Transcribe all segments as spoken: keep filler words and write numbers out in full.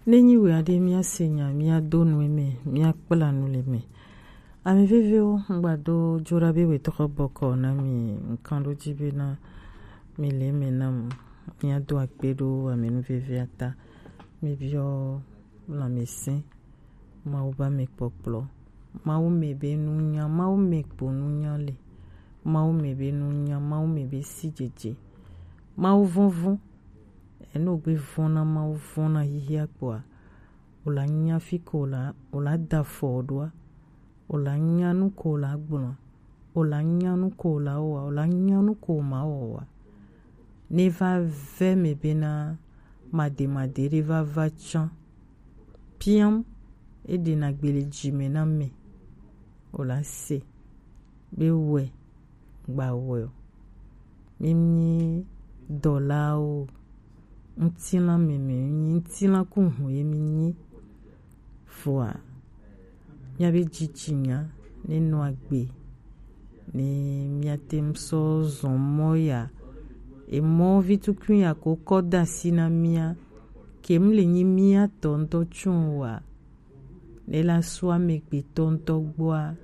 Ne nyi wɛ aɖe míase nya, míado nu eme, míakpla nu le eme. Ame veviwo, ŋgbado dzoɖa be wetɔxɔ bɔkɔ na mi ŋkan ɖo dzi bena mi le eme nam. Míado akpe ɖo ame nu vevia ta. Míbiɔ lãmesẽ, Mawu be ame kpɔkplɔ. Mawu me be nunya, Mawu me kpo nunya le. Mawu me be nunya, Mawu me be sidzedze. Mawu vɔnvɔn. Eno gbe vɔn na Mawu, vɔn na xixia kpoa, wòla nya fi ko wòla, wòla da afɔ ɖoa, wòla nya nu ko wòla gblɔa, wòla nya nu ko wòla wɔa, wòla nya nu ko wòma wɔa. Ne va ve me bena mademade ɖe va va tsã. Piam, eɖena gbe le dzi me na me. Wòla se be wɛ gba wɛ o. Mímí dɔlawo, ŋutilã meme, mímí ŋutilã ku hu ye mínyi. Vɔa, míabe dzitsinya ne nɔ agbe, ne míate ŋu sɔ zɔn mɔ ya. Emɔ vi tukui ya ko kɔ da asi na mía, ke mu le nyi mía tɔ ŋutɔ tso wa. Ne la sɔ amegbetɔ ŋutɔ gbɔa,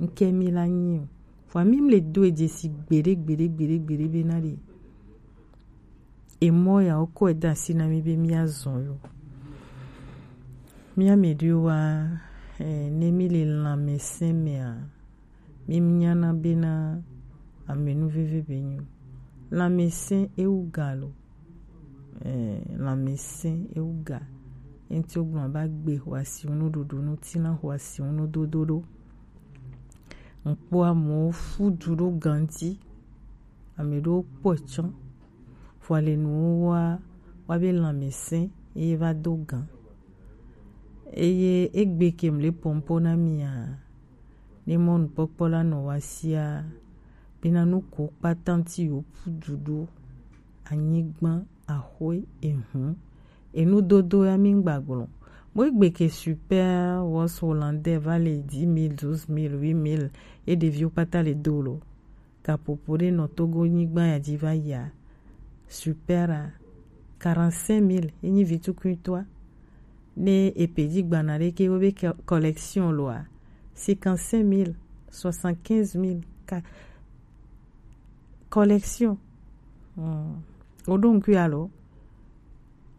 ŋke mi la nyi o. Vɔa mi mu le do e dzesi gbeɖe, gbeɖe, gbeɖe, gbeɖe be na ɖe. Emɔ ya wokɔe da asi na mi be míazɔn yo. Mía me ɖewo wa, eh, ne mi le lãmesẽ mea, mi nyana bena ame nu veve be nyo. Lãmesẽ ewu ga lo. Eh, lãmesẽ ewu ga. Enti wogblɔ ba gbe xɔasi ŋu nuɖuɖu, ŋutilã xɔasi ŋu nudodo ɖo. Ŋkpɔ amewo fu du ɖo ganti. Ame ɖewo kpɔe tsã. Vɔa le nuwo wa, wa be lãmesẽ ye va do gan. Eye egbe ke mu le pɔmpɔ na mia, ne mɔnukpɔkpɔ la nɔ wa sia, bena nu ko kpata ŋuti yewo ƒu du ɖo, anyigba, axwe, ehu, enudodo ya mi ŋgba gblɔ. Mo egbe ke super was hollandais va le dix mille, douze mille, huit mille, ye ɖeviwo kpata le do lo. Gaƒoƒo ɖe nɔ Togo nyigba ya dzi va yia, super a, quarante-cinq mille, ye nyi vi tukuitɔa. Ne epe dzi gbana ɖe ke wo be ke-, collection loa, cinquante-cinq mille, soixante-quinze mille, ka-, collection. Hmm. Woɖo ŋkui alo?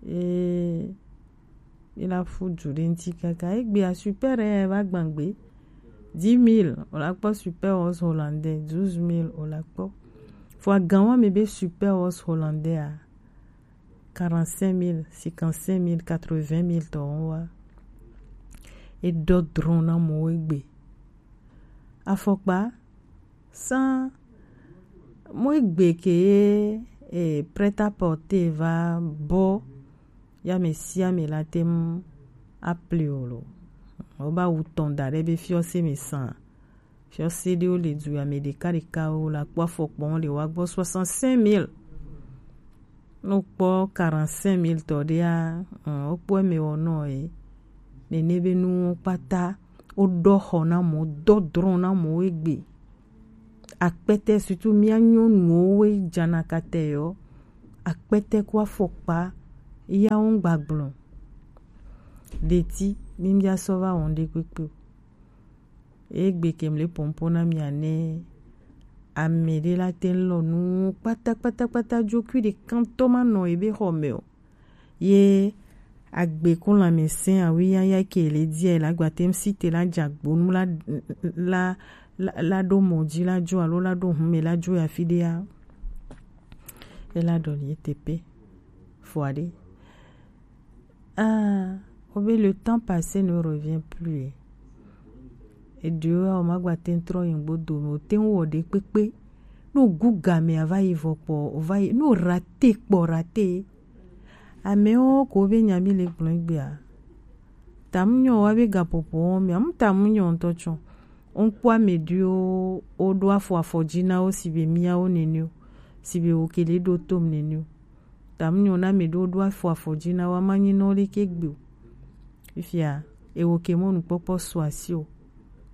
Ee, ila fu du ɖe ŋuti kaka. Egbea super ya va gbãgbe. Dix mille, wòla kpɔ super horse hollandais, douze mille, wòla kpɔ. Vɔa gan wa mi be super horse hollandais a, quarante-cinq mille, cinquante-cinq mille, quatre-vingt mille tɔ wa. Eɖɔ drɔn na mɔwo egbe. Afɔkpa, Sans, mo egbe ke ye, eh, prêt-à-porter va bɔ, ya ame sia ame la te ŋu apli o lo. Wo ba wu tɔn da ɖe be fiɔse me san. Fiɔse ɖewo le du ya me ɖeka ɖeka wo la kpɔ afɔkpɔn le wa gbɔ soixante-cinq mille. No kpɔ quarante-cinq mille tɔ ɖea, ɔn, wo kpɔ eme wɔ nɔ ye. Nene be nu kpata, wo ɖɔ xɔ na mɔ, dɔ drɔn na mɔ wo egbe. Akpɛtɛ, surtout mía nyɔnuwo woe dzana katɛ yɔ. Akpɛtɛ ku afɔkpa, ya wo ŋgba gblɔ. Ɖeti, mi mía sɔ va wɔn ɖe kpekpe o. Egbe ke mle pɔnpɔn na mia ne ame ɖe la te lɔ nu kpata, kpata, kpata, dzokui ɖe kantɔ ma nɔ ebe xɔ me o. Ye agbe ko lãmesẽ awi yaya ke le dia la gba tem si te la dzagbonu la, la, la, la ɖo mɔ dzi la dzo alo la ɖo hume la dzo ya fi ɖea. Ela ɖɔ li etepe. Fo aɖe. Ah, o be le temps passé ne revient plus. Eɖewo o ma gba te trɔ yi ŋgbo dome, o te ŋu wɔ ɖe kpekpe. No gu game a va yi vɔ kpɔ, o va yi, no rate kpɔ rate. Amewo ko be nya mi le gblɔ gbea. Tamu nyɔ wa be gaƒoƒo wɔm, amu tamu nyɔ ŋutɔ tsɔ. Ŋkpɔ ame ɖewo, woɖo afɔ afɔ dzi na wo si be miawo nene o, si be wo ke le ɖo tom nene o. Tamu nyɔ na ame ɖewo ɖo afɔ afɔ dzi na wo, ama nyi nɔ ɖe ke gbe o. Fifia, ewo ke mɔ nukpɔkpɔ su asi o.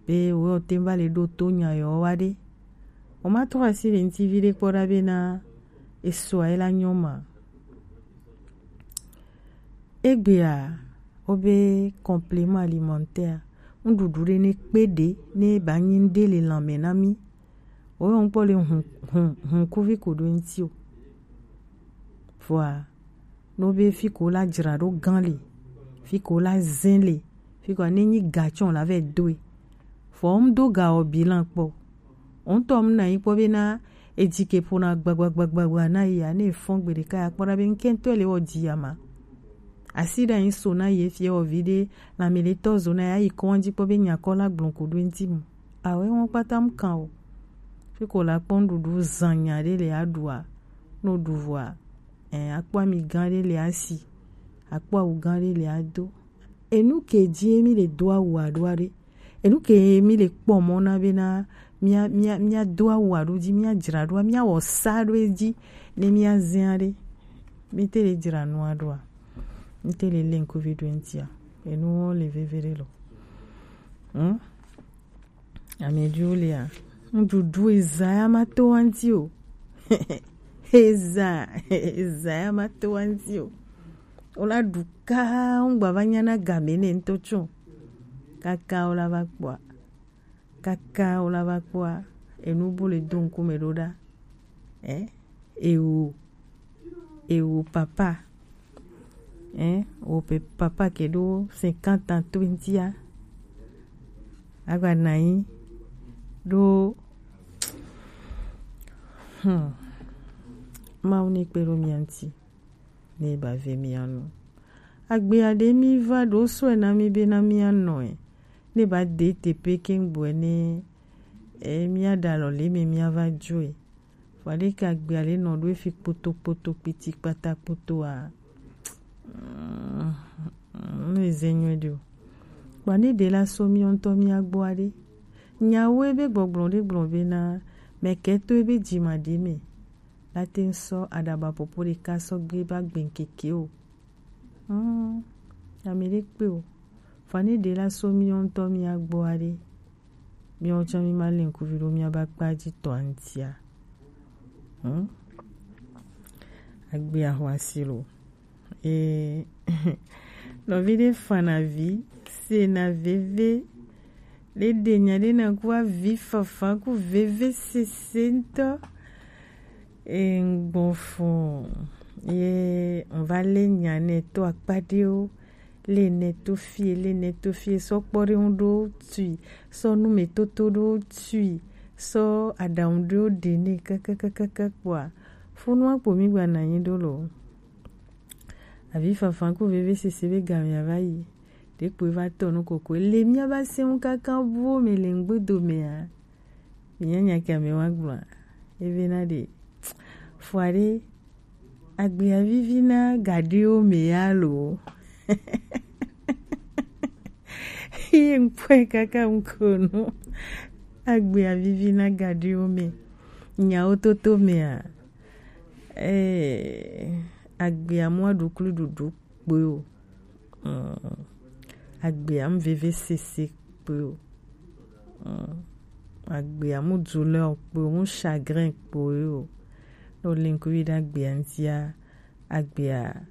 Be wo te va le ɖo to nya yɔ wa ɖe. O ma trɔ asi le ŋuti vi ɖe kpɔ ɖa be na esua ye la nyɔ ma. Egbea, Wobe complément alimentaire, nuɖuɖu ɖe ne kpe ɖe ne ba nyi nuɖe le lãme na mí. Woyɔ ŋkpɔ le hun hun hun kuvi ko ɖo eŋuti o. Vɔa, no be fi ko la dzra ɖo gã le, fi ko la zẽ le, fi ko ne nyi ga tsɔ la vɛ doe. Vɔ ŋdo ga wɔ bilan kpɔ. Ŋutɔ mu na yi kpɔ be na edzi ke ƒona gbagbagbagba na yi ya ne efɔn gbe ɖeka ya kpɔ ɖa be ŋkɛntɔ le wɔ dzi ya ma. Asi ɖe anyi so na ye fie wɔ vi ɖe lãmele tɔ zo na ya yi kɔn dzi kpɔ be nyakɔ la gblɔ ko ɖo eŋuti mu. Awɛ wɔn kpata mu kan o. Fi ko la kpɔ nuɖuɖu zan nya ɖe le aɖua. No ɖu vɔa, ɛ, akpɔ ami gã ɖe le asi. Akpɔ awu gã ɖe le ado. Enu ke dzi mi le do awu aɖoa ɖe. Enu ke mi le kpɔ mɔ na be na mía mía mía do awu aɖo dzi, mía dzra ɖoa, mía wɔ sa ɖo edzi ne mía zẽa ɖe. Mi te le dzra nua ɖoa. Mi te le le ŋkuvi ɖo eŋutia. Enu wo le veve ɖe lo. Hmm? Ame ɖewo lia, nuɖuɖu eza ya ma to wa ŋuti o. Eza, eza ya ma to wa ŋuti o. Wo la ɖu ka ŋgba va nya na game ne ŋutɔ tsɔ. Kaka wo la va kpɔa. Kaka wo la va kpɔa, enu bu le do ŋkume ɖo ɖa. Eh? Ewo, ewo papa. Eh? Wo pe papa ke ɖo cinquante ans to ŋutia. Agba na yi ɖo. Hmm. Mawu ne kpe ɖo mía ŋuti. Ne ba ve mía nu. Agbea ɖe mi va ɖo sɔe na mi be na mía nɔe. Ne ba de teƒe ke ŋgbɔe ne, e, mía ɖa lɔ le me mía va joe. Vɔ ɖe ke agbea le nɔ ɖo efi kpoto kpoto kpiti kpata kpoto a. Mm, mm, ne ze nyuie ɖe o. Kpa ne ɖe la so mía ŋutɔ mía gbɔ aɖe. Nyawo ebe gbɔgblɔ ɖe gblɔ be na mɛ ke to ebe dzima ɖe me. La te ŋu sɔ aɖaba popo ɖeka sɔ gbe ba gbe ŋkeke o. Hmm, ame ɖe kpe o. Vɔ ne ɖe la so mía ŋutɔ mía gbɔ aɖe. Míawo tsã mí ma le ŋkuvi ɖo mía ba kpa dzi tɔ ŋutia. Hmm? Agbe ahwasi lo. E, nɔvi ɖe fana vi, sena veve, ɖe ɖe nya ɖe na ku avi fafa ku veve sese ŋutɔ. E, ŋgbɔ fɔ, ye ŋva le nya nɛ to akpa ɖewo, le nɛ to fie, le nɛ to fie, sɔ kpɔ ɖe ŋu ɖo tui, sɔ nu me toto ɖo tui, sɔ aɖaŋu ɖewo ɖe nɛ kakakakaka kpɔa, funu akpo mi gba na anyi ɖo lo. Avi fafa ku veve sese be game ava yi. Ɖe kpoe va tɔ nu koko. Le mía va se ŋu kaka buwo me le ŋgbedo mea. Mía nya ke ame wa gblɔa. Eve na ɖe. Fua ɖe. Agbea vivi na gaɖewo me ya lo. Ye ŋkpɔe kaka ŋko nu. Agbea vivi na gaɖewo me. Nyawo toto mea. Eh, agbea mu aɖuklu ɖuɖu kpoe o. Mm. Agbea mu veve sese kpoe o. Mm. Agbea mu douleur kpoe o, mu chagrin kpoe o. No le ŋkuvi ɖe agbea ŋutia, agbea